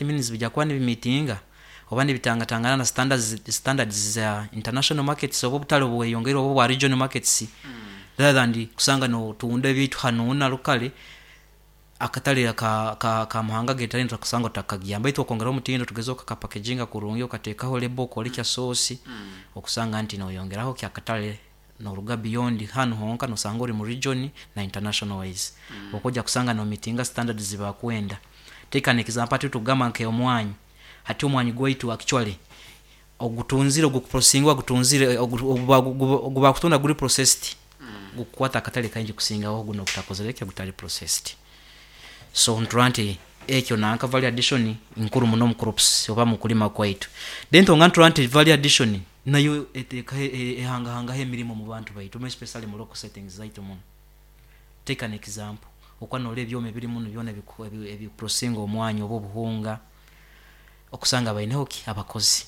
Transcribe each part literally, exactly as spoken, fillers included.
Means bijja kuba nibimeetinga oba nibitangatangana na standards, standards za international markets oba obutale obweyongeire oba obwa regional markets, rather than kusanga notunda ebyaitu hanuuna locally, akatale aka- ka- akamahanga gaitu nitukusanga otakagiyamba, baitu okwongeraho omutindo, tugeze okakapackaginga kurungi, okateekaho label, okorekya source, okusanga nti noyongeraho ki akatale, noruga beyond hanu honka, nosanga ori mu region na international wise, okujja kusanga nomeetinga standards zibakwenda. Take an example, hati tugamba nk'omwanyi, hati omwanyi gwaitu actually ogutunzire, ogukuprocessingwa, gutunzire, ogubakutunda guri processed, gukukwata akatale kaingi kusingaho gunu ogutakozire ki, ogutali processed. So niturora nti ekyo nanka value addition nkuru muno omu crops oba mukulima kwaitu. Then twongera niturora nti value addition nayo eteekaho, ehangahangaho emirimo mu bantu baitu, more especially mu local settings zaitu muno. Take an example, okuba norora ebyoma ebiri munu byona ebiprocessinga omwanya oba obuhunga, okusanga baineho ki, abakozi.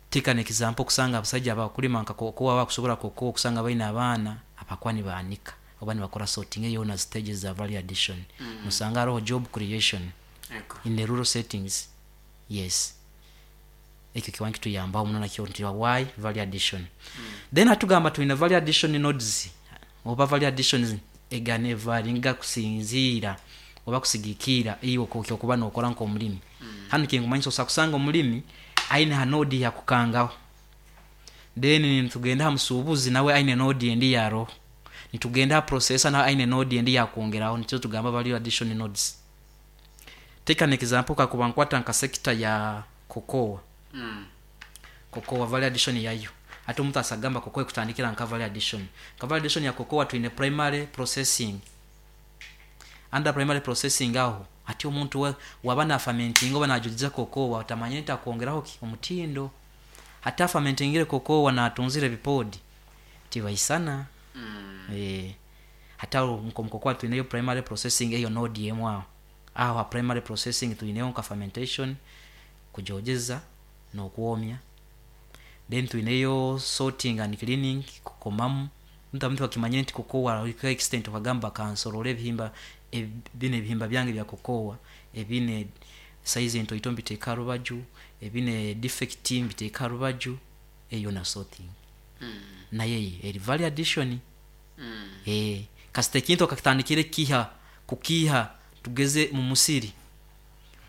Take an example, okusanga abasaija abakulima nka cocoa, abakusobora cocoa, okusanga baine abaana abakuba nibaanika oba nibakora sorting, eyo stages za value addition. Nosanga haroho job creation in the rural settings. Yes, ekyo kiba nikituyambaho muno nakyo nti why value addition. Then hatugamba twine value addition nodes oba value addition egana evaryinga kusinziira oba kusigikiira iwe okwokuba nokora nk'omulimi. Hanu kinkumanyisa osobola kusanga omulimi aine ha node yakukangaho, then nitugenda ha musuubuzi nawe aine node endi yaroho, nitugenda ha processor nawe aine node endi yakwongeraho, nikyo tugamba value addition nodes. Take an example, kakuba nkwata nka sector ya cocoa, cocoa value addition yayo, hati omuntu asagamba cocoa ekutandikira nka value addition. Nka value addition ya cocoa twine primary processing. Under primary processing aho hati omuntu waba nafermentinga oba najogeza cocoa, otamanyire nti akwongeraho ki, omutindo. Hati afermentingire cocoa natunzire ebipodi tibaisana. Eh, hati aho nkomu cocoa twineyo primary processing, eyo node emu aho. Aho ha primary processing twineyo nka fermentation, kujogeza n'okwomya, then twineyo sorting and cleaning, kukomamu. Omuntu akimanyire nti cocoa extent okagamba kansorole ebihimba binu, ebihimba byange bya cocoa ebine size entoito mbiteeke harubaju, ebine defect mbiteeke harubaju, eyo na sorting nayo eri value addition. Eh, kasita ekintu okakitandikire kukiiha kukiiha tugeze mumusiri,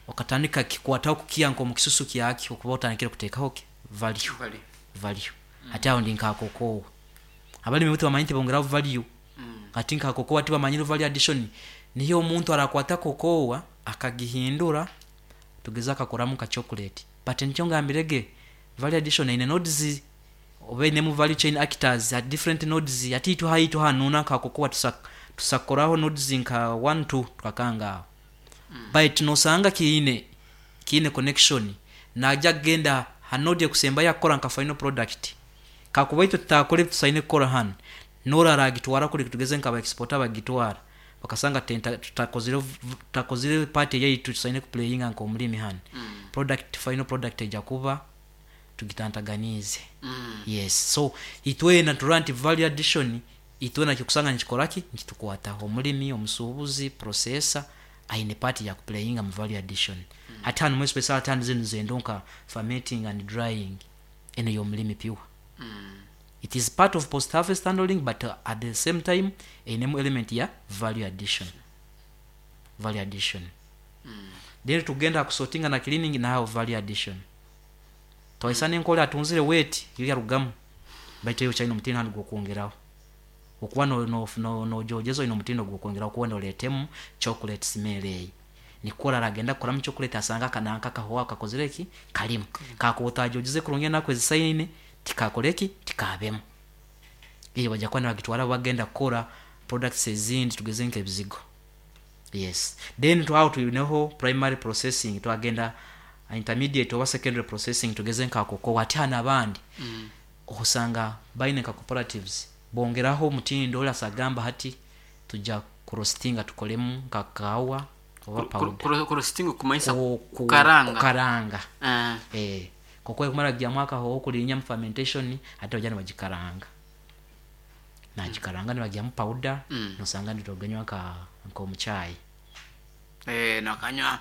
okatandika kukikwataho kukiiha nk'omu kisusu kyakyo, okuba otandikire kuteekaho ki, value. Value. Hati aho ndi nka cocoa, abalimi baitu bamanyire nti bongeraho value. Hati nka cocoa tibamanyire value addition, niyo omuntu arakwata cocoa akagihindura, tugeze akakoramu nka chocolate, but nikyo ngambirege value addition eine nodes oba einemu value chain actors at different nodes. Hati itwe haitu hanu nka cocoa tusakukoraho nodes nka one two tukakanga aho, baitu nosanga kiine kiine connection, naija kugenda ha node ekusembayo akukora nka final product. Kakuba itwe tutakora ebi tusaine kukora hanu, nori aragitwara kuli, tugeze nka aba exporter bagitwara bakasanga tutakozire tutakozire part eyaitu tusaine kuplayinga nk'omulimi hanu, product, final product eija kuba tugitantaganiize. Yes, so itwena niturora nti value addition itwena kusanga nikikora ki, nikitukwataho, omulimi, omusuubuzi, processor aine part yakuplayinga mu value addition. Hati hanu more especially, hati zinu zendo nka fermenting and drying, enu ey'omulimi pure. It is part of post harvest handling, but at the same time einemu element ya value addition, value addition. Then tugenda kusortinga na cleaning, naho value addition. Twaisana enkoli atunzire wet yo yarugamu, baitu eyo okyaine omutindo hanu gwokwongeraho, okuba nojogeza oine omutindo ogwokwongeraho kuba noletemu chocolate smell eyi, nikwo aragenda kukoramu chocolate asanga akananka akahoho kakozire ki, kalimu. Kakuba otagyogeze kurungi enaku ezisaine, tikakoreki, tikabemu. Eyo baija kuba nibagitwara bagenda kukora products ezindi, tugeze nk'ebizigo. Yes, then aho twineho primary processing, twagenda intermediate oba secondary processing, tugeze nka cocoa. Hati hanu abandi osanga baine nka cooperatives, bongeraho omutindo, oli asagamba hati tuja kuroastinga tukolemu nka kawa oba powder. Kuroastinga kumanyisa Ku- ku- kukaranga. Kukaranga. Eh. Eh, cocoa ekumara kugyamu akahoho kulinya mu fermentation, hati baija nibagikaranga, nagikaranga nibagyamu powder, Mm. nosanga nituganywa nka nk'omuchai. Eh, nakanywa.